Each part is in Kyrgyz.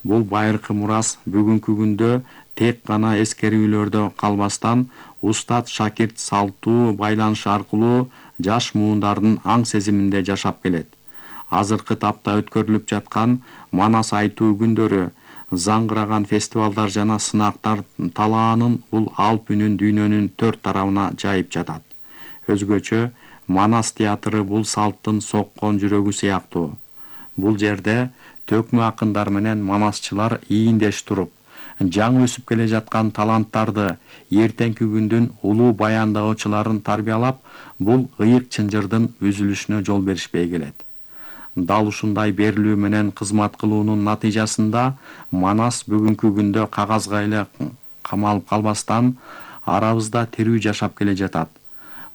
Бул байыркы мурас бүгүнкү күндө тек гана эскерүүлөрдө калбастан, устат шакирт салттуу байланыш аркылуу жаш муундардын аң сезиминде жашап келет. Азыркы тапта өткөрүлүп жаткан Манас айтуу күндөрү, заңгыраган фестивалдар жана сынактар талаанын бул алп үнүн дүйнөнүн төрт тарабына жайып жатат. Өзгөчө Манас театры бул салттын соккон жүрөгү сыяктуу. Бул жерде төкмө акындар менен манасчылар ийиндеш туруп, жаңы өсүп келе жаткан таланттарды, эртеңки күндүн улуу баяндаочуларын тарбиялап, бул ыйык чынжырдын үзүлүшүнө жол беришпей келет. Дал ушундай берилүү менен кызмат кылуунун натыйжасында Манас бүгүнкү күндө кагазга эле камалып калбастан, арабызда тирүү жашап келе жатат.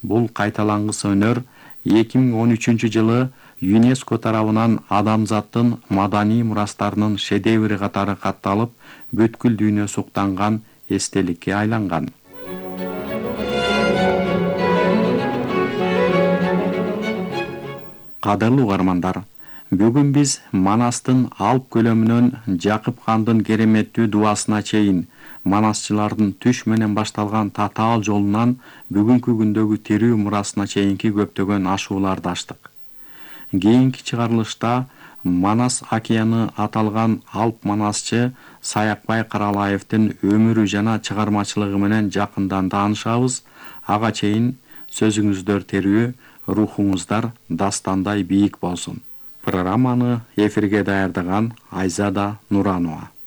Бул кайталангыс өнөр 2013-жылы ЮНЕСКО тарабынан адамзаттын маданий мурастарынын шедеври катары катталып, бүткүл дүйнө суктанган эстеликке айланган. Кадырлуу угармандар, бүгүн биз Манастын алп көлөмүнөн Жакып хандын кереметтүү дубасына чейин манасчылардын түш менен башталган татаал жолунан бүгүнкү күндөгү тирүү мурасына чейинки көптөгөн ашууларды аштык. Кийинки чыгарылышта Манас океаны аталган алп манасчы Саякбай Каралаевдин өмүрү жана чыгармачылыгы менен жакындан таанышабыз. Ага чейин сөзүңүздөр терүү, рухуңуздар дастандай бийик болсун. Программаны эфирге даярдаган Айзада Нуранова.